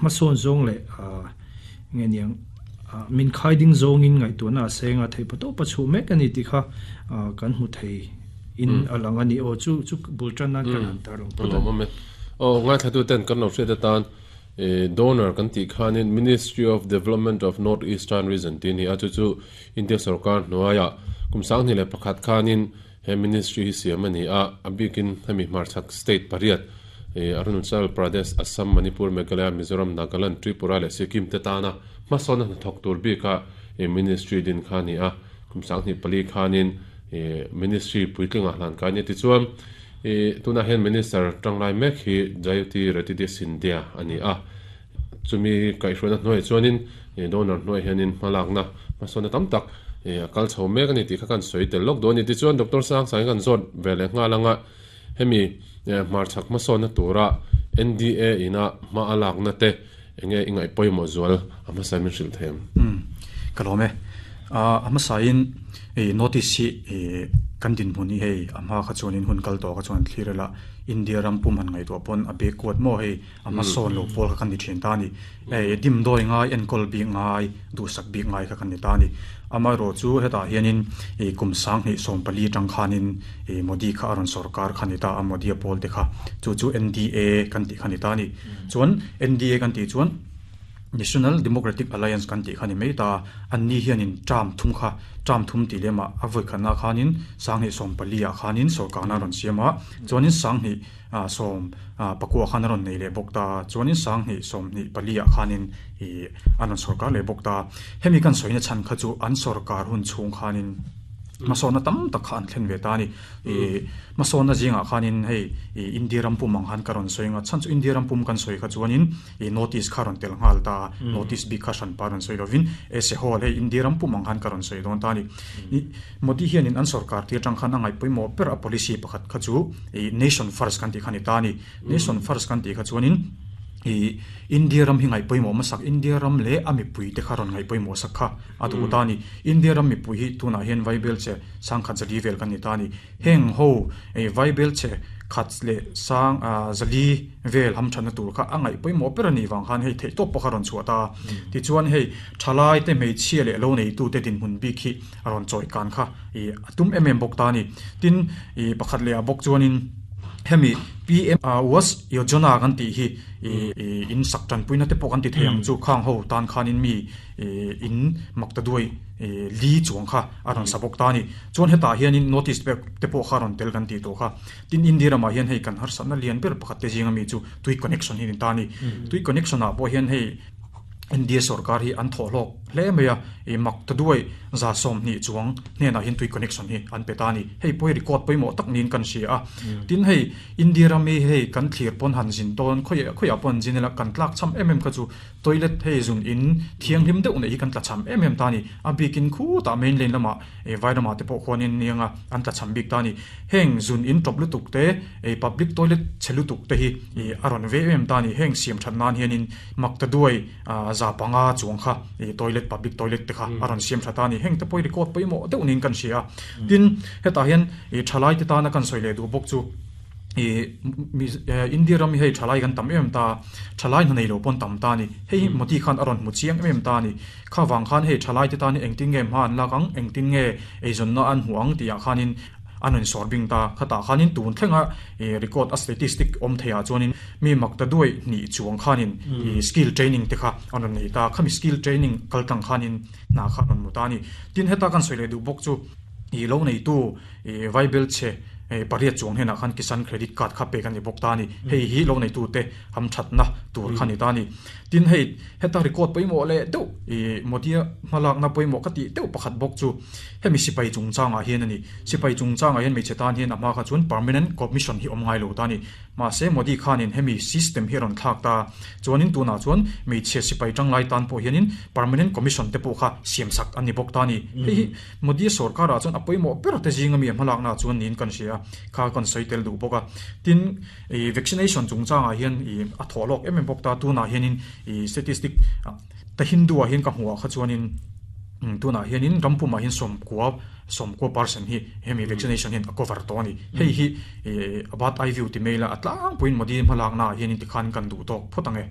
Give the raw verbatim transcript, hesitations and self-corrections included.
Hmasawn zawng leh nge niang min khaiding zawngin ngaihtuahna a senga thei pato pa chu mek ani ti kha kan hmu thei in alang ani. O chu chu bultan nan kan han tar lang. Pawh o ngai thatu ten kan lo hriat atan donor kan ti khanin Ministry of Development of North Eastern Region tin hi a chu chu India sarkar hnuaia kum sang ni le pakhat khanin he ministry hi siam ani a. Abikin hemi hmarchhak state pariat, Arunachal Pradesh, Assam, Manipur, Meghalaya, Mizoram, Nagaland, Tripura le Sikkim te tana hmasawn na thawk tur bika ministry din kha ni a. Kum sang ni pali khanin ministry puitlinga hlan ka ni. Ti chuan tuna hian minister tanglai mek hi Jayoti Jyotiraditya Scindia ani a. Chumi kaihhruaina hnuai chuanin donor hnuai hianin hmalakna hmasawn tam tak kal chho mek ani tih kha kan sawi tel lawk dawn ni. Ti chuan Doctor Sang Sang kan zawt ve leh nghal anga hemi hmarchhak hmasawnna tura N D A ina hma a lakna te enge ingai pawimawh zual a hmasa min hrilh them? Kalome a hmasain e notice hi e kan din hmun hi hei ama kha chuanin hun kal to kha chuan thlirela India ram pum han ngai to pon a be kuat mo hei ama son lo pol kha kan ni thin ta ni. E dim doi ngai enkol bi ngai du sak bi ngai kha kan ni ta ni. Ama ro chu heta hianin e kum sang hi som pali tang khanin e Modi kha aron sarkar khani ta a. Modi pol te kha chu chu N D A kan ti khani ta ni. Chuan N D A kan ti chuan National Democratic Alliance kan ti khani mai ta. An ni hianin tram thum kha tram thum ti lema avoi khana khanin sang hi som pali a khanin sarkar na ron siama. Chuanin sang hi som pakua khan ron nei le bokta. Chuanin sang hi som ni pali a khanin i anon sarkar le bokta. Hemi kan soina chan kha chu an sarkar hun chung khanin masona tam tak kha an thlen ve ta ni. E masona jinga khanin hei India ram pum ang han karon soinga chan chu India ram pum kan soi kha chuanin e notice kharon tel ngal ta. Notice bi kha shan paron soi lovin e se hol hei India ram pum ang han karon soi don ta ni. Modi hianin an sarkar ti tang khan angai poimo per a policy pakhat kha chu e nation first kan ti khani ta ni. Nation first kan ti kha chuanin i India ram hi ngai poimo masak, India ram le ami pui te kharon ngai poimo sakha atu ta ni. India ram mi pui hi tuna hian vaibel che sangkhat zali vel kan ni ta ni. Heng ho e vaibel che khat le sang a zali vel ham thana tur kha angai poimo per ani wang khan hei thei top pakharon chuata. Ti chuan hei thalai te mei chhia le lo nei tu te din hun bi khi aron choi kan kha i atum em em bok ta ni. Tin i pakhat le a bok chuanin hemi P M Awas Yojana kan ti hi in sak tan puina te pawh kan ti thei ang chu. Khang ho tan khanin mi in makta duai li chuang kha aron sabok ta ni. Chuan heta hianin notice pe te pawh kha ron tel kan ti to kha. Tin India rama hian hei kan har satna lian ber pakhat te zinga mi chu tui connection hi ni ta ni. Tui connection ah pawh hian hei India sarkar hi an thaw hlawk hle mai a. E mak ta duai za som ni chuang hnena hin tui connection hi an pe ta ni. Hei poi record poimo tak nin kan sia a. Tin hei India rami hei kan thlir pon han zin ton khoi khoi pon zinela kan tlak cham em em kha chu toilet hei zun in thiang hlim deuh nei hi kan tla cham em em ta ni. A bikin khu ta main lane lama e vairama te pawh khuanin nianga an tla cham bik ta ni. Heng zun in top lutuk te e public toilet chelutuk te hi e aron ve em ta ni. Heng siam that nan hianin mak ta duai za panga chuang kha e toilet, public toilet te kha aron siam thata ni. Heng te poi record poimo deuh nin kan sia. Tin heta hian e thalai te ta na kan soile du bok chu e India ram hei thalai kan tam em ta, thalai na nei lo pon tam ta ni. Hei Modi khan aron mu chiang em ta ni. Kha wang khan hei thalai te ta ni engtin nge ma an lakang, engtin nge ei zon na an huang tia khanin anon sorbing ta. Khata khanin tun thlenga e record a statistic om theya chuanin mi makta duai ni chuang khanin e skill training te kha anon nei ta. Khami skill training kaltang khanin na kha non muta ni. Tin heta kan soile du bok chu i lo nei tu e vaibel che e pariat chuang hena khan Kisan Credit Card kha pe kan ni bok ta ni. Hei hi lo nei tu te ham that na tur khan ni ta ni. Tin hei heta record poimo le deuh e Modia malak na poimo ka ti deuh pakhat bok chu hemi sipai chungchanga hian ani. Sipai chungchanga hian mei chetan hian ama kha chuan permanent commission hi om ngai lo ta ni. Ma se Modi khanin hemi system hi ron thak ta. Chuanin tuna chuan mei che sipai tanglai tan po hianin permanent commission te po kha siam sak ani bok ta ni. Hei hi Modi sarkar a chuan apoimo ber te zinga mi malak na chuan nin kan sia kha kan soitel du boka. Tin e vaccination chungchanga hian i a tholok em em bok ta. Tuna hianin i statistic ta Hindu a hian ka hmuwa kha chuanin tuna hianin rampuma hian som kwa som kwa percent hi hemi vaccination hian a cover to ani. Hei hi about eye view ti maila atlang puin Modi malak na hianin ti khan kan du tok photange.